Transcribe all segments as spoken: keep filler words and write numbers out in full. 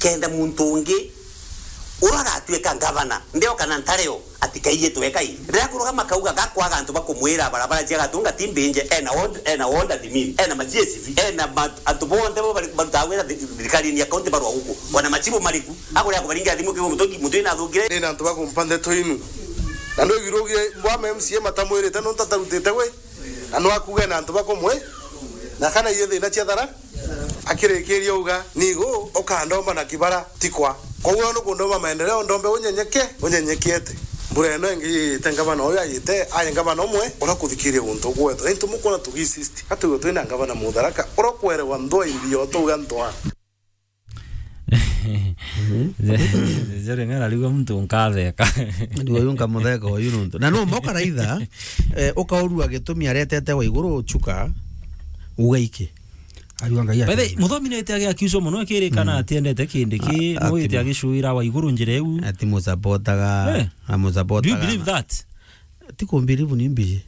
Kenda muntu ungi uria agatwika ngavana, ndeo kana ntareo, atikaiyitwe kai. Riria kurugama kauga gakwaga antu bakumwira barabara cia Gatunga ti mbinje, ena ward, ena ward admin, ena ma G S V, ena ma-, antu bonthe bo bari-, barutaga wira thi-, thirikarini ya kaunti barwa guku. Ona machibu mariku, akuria kubaringira thimu kiu muntu, muntu ina athukire. Ina antu bakumpa ndeto inu. Na ndu igirugire mbwa ma M C A matamwirite nontu atarutite wi. Na no akuge na antu bakumwe. Na kana iye thina cia thara. Akirikiria uga, "Nigu ukandomba na kibara tikwa." Koguo nukundoma maendeleo, ndombe unyenyeke, unyenyekete. Mbura ino ingi yite ngavana uyu ayite, aye ngavana umwe, urakuthikiria guntu gwetho. Ni ntu mukwona tugisist. Atugo twina ngavana Mutharaka, urakwerewa ndwa imbi yo tuga ndwa. Jere ng'ara riu muntu nkatheka. Riu uyu nkamutheka uyu nuntu. Na no mboka raitha, eh, ukaurua gitumi aretete wa iguru chuka, ugaike. Ariwa Ngai. By the way, ati Muthomi nete agi accuse muno akirikana, mm, atiendete Kindiki, a-, no ati ite mu- agicuira wa iguru njira iu. Ati musapotaga, eh, amusapotaga. Do you believe that? Ti kumbirivu ni mbiji.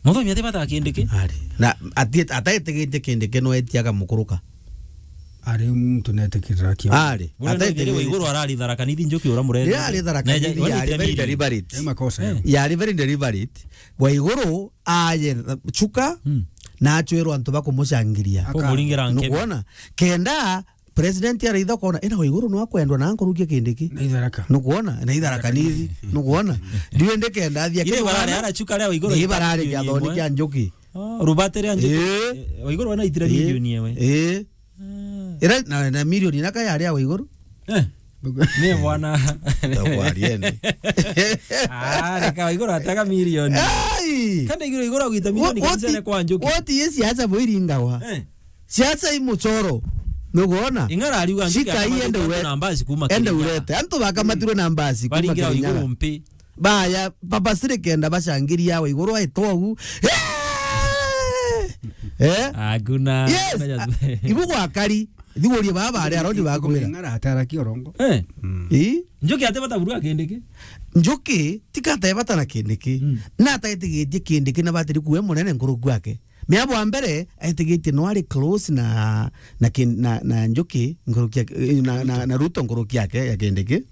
Muthomi ati bata Kindiki? Ari. Na ati, ataitigitie Kindiki no etiaga mukuruka. Ari muntu netikirira kio. Ari. Ura no ithiri wa iguru arari Tharaka Nithi Njuki ura murende. Ria ari Tharaka Nithi yari very deliberate. Ni makosa. Eh. Yari very deliberate. Wa iguru aye chuka, mm, na achwirwa antu bakumucangiria. Kumuringira nkebe. Nukwona? Kenda president araitha kona, ina wa iguru no akwendwa na nkurukia Kindiki. Na itharaka. Nukwona? Na itharaka nithi. Nukwona? Ndiwe ndikenda athia. Ile barare ara chuka ria wa iguru. Ni barare kiathoni kia Njuki. Oh, rubate ria Njuki. Eh. Eh, wa iguru wana itira milioni ewe. Eh. Ah. Ira na, na milioni na kaya aria wa iguru. Eh. Ni bwana. Ndakwaria ni. Ah, reka wa iguru atega milioni. Ai! Kanda iguru iguru agwita milioni. What, what kanisa i-, kwa Njuki. What is siasa bwiringagwa? Eh. Siasa i muchoro. Nukwona? Ing'ara ariuga Njuki. Shika hii akamatwa ende na urete. Mbasi kuma Kirinyaga. Ende urete. Antu bakamatirwe na mbasi kuma Kirinyaga. Baringira wa iguru mpi. Baya, papa siri kenda bacangiria wa iguru aitwa u. Eh? Hakuna, yes, hakuna cha-, ibu gwakari. Thigurie baba ari arodi bakumira. Ing'ara atara kiorongo. Eh. Mm. Ii? Njuki ate bata burua Kindiki? Njuki, tika ate bata na Kindiki. Mm. Na ataitigitie Kindiki na batiri kuwe munene nkuruku yake. Mea bwa mbere, aitigitie no ari close na, na kin-, na, na Njuki, nkuruki ya, eh, na, na, na Ruto nkuruki yake ya Kindiki.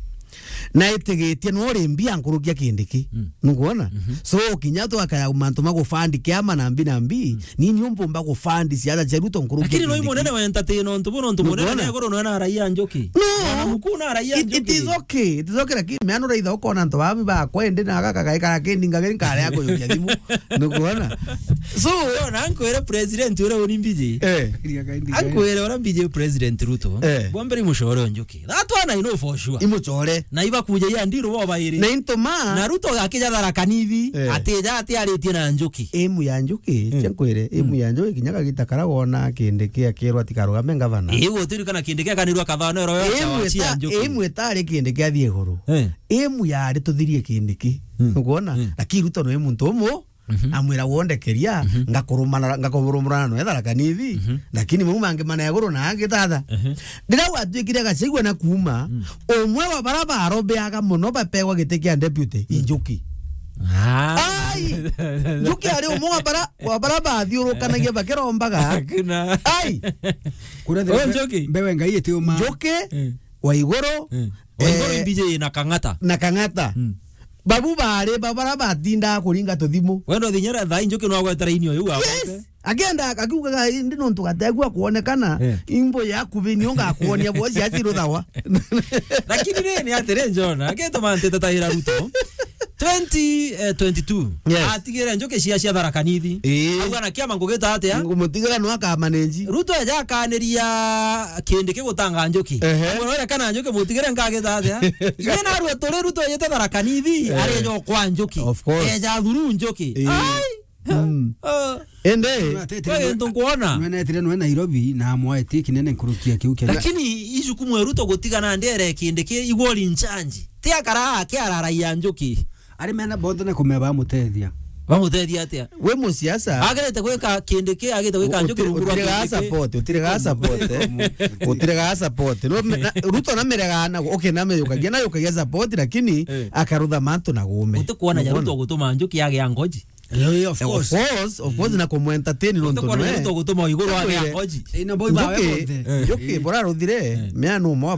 Na aitigitie no ari mbia nkuruki ya Kindiki. Mm. Nukwona? Mhm. So, kinya tu akaya mantu ma gufandi kiama na mbi na mbi, mm, nini umbumba gufandi siasa cia Ruto nkuruki ya Kindiki. Lakini no imunene wa entertain ontu bu, nontu munene. Nukwona? Na iguru no na raia Njuki. No. Mwana mukuu na raia Njuki. It, it is okay. It is okay, lakini mea no raitha ukona antu babi bakwa indi na gaka gaikara kindi ngageri nkare ya kuyukia thimu. Nukwona? So, yo, na nkwire president uria uri mbiji. Eh. Ankwire uria mbiji president Ruto. Eh. Bwa mbere imucore o Njuki. That one I know for sure. Imucore. Na ibakuja ya ndiru bo bairi. Na into ma. Na Ruto akija Tharaka Nithi, eh, atija ati aritie na Njuki. Emu ya Njuki, mm, cia nkwire, emu, mm, ya Njuki kinya kagita kara wona Kindiki akirwa ati karugame ngavana. Iu utirikana Kindiki akanirwa kathano ero yo. Emu ita-, emu itari Kindiki athie iguru. Eh. Emu yari tuthirie Kindiki. Mm. Nukwona? Mm. Lakini Ruto no muntu umu, mhm, amwira wondekeria, mhm, ngakurumana, ngakurumana no Tharaka Nithi, mhm, lakini mau mangi mana iguru na angi tata. Mhm. Riria gwatuikire Gachagua na kuuma, mm, umwe wa bara barobeaga muno bapegwa giti kia deputy, mm, i Njuki. Ah. Ai! Njuki ari umwe wa bara, wa bara bathiurukanagia bakirombaga. Hakuna. Ai! Kuria thira. Oh, mbe-, Njuki. Mbewe Ngai itiuma. Njuki, eh, wa iguru, mm, wa iguru, eh, imbiji na Kang'ata. Na Kang'ata. Mm. Babu bari, ba-, bara batindaga kuringa tuthimu. Wendo thinyera thaa Njuki no agwetera inio yu. Yes. Agwete. Agenda akiugaga, "Indi nontu gategua kuonekana, eh, imbo yaku bini ngakuonia bo cia ciruthawa." Lakini ni, ni atiri John, agituma ntete taira Ruto. Twenty, eh, twenty-two. Yes. Atigire Njuki cia, cia Tharaka Nithi. Ii. Auga na kiama ngugita atia? Ngumutigira no akamanage. Ruto eja akaniria Kindiki gutanga Njuki. Ehe. Amwira, "Were kana Njuki mutigire nkagita atia?" Iye narua turi Ruto ejete Tharaka Nithi, eh, areja kwa Njuki. Of course. Eja thuru Njuki. Ii. Ai! Mm. Ah. Ende. Atete. Wewe ndo nkuona. Nwenetire nwe Nairobi na amwaetie kinene nkurukia kiu kia. Lakini ijukumu ya Ruto gutigana ndere Kindiki igwori nchanji. Ti akara akiararaia Njuki. Ari mena bonthe na kumea bamutethia. Bamutethia atia? We musiasa. Agirite gwika Kindiki, agirite gwika Njuki rungu rwa Kindiki. Utire ga support, utire ga support, eh. Utire ga support. No, na, Ruto na merega na, okay, na meyukagia, na yukagia support, lakini, eh, akarutha mantu na gume. Utikuona ja Ruto gutuma Njuki agia ngoji. Eh, of course. Of course, of course, mm, na kumu entertain nontu nwe. Utikuona ja Ruto gutuma iguru agia ngoji. Eh, na boy bawe bonthe. Njuki, eh, Njuki, eh, bora ruthire, eh, mea no mwa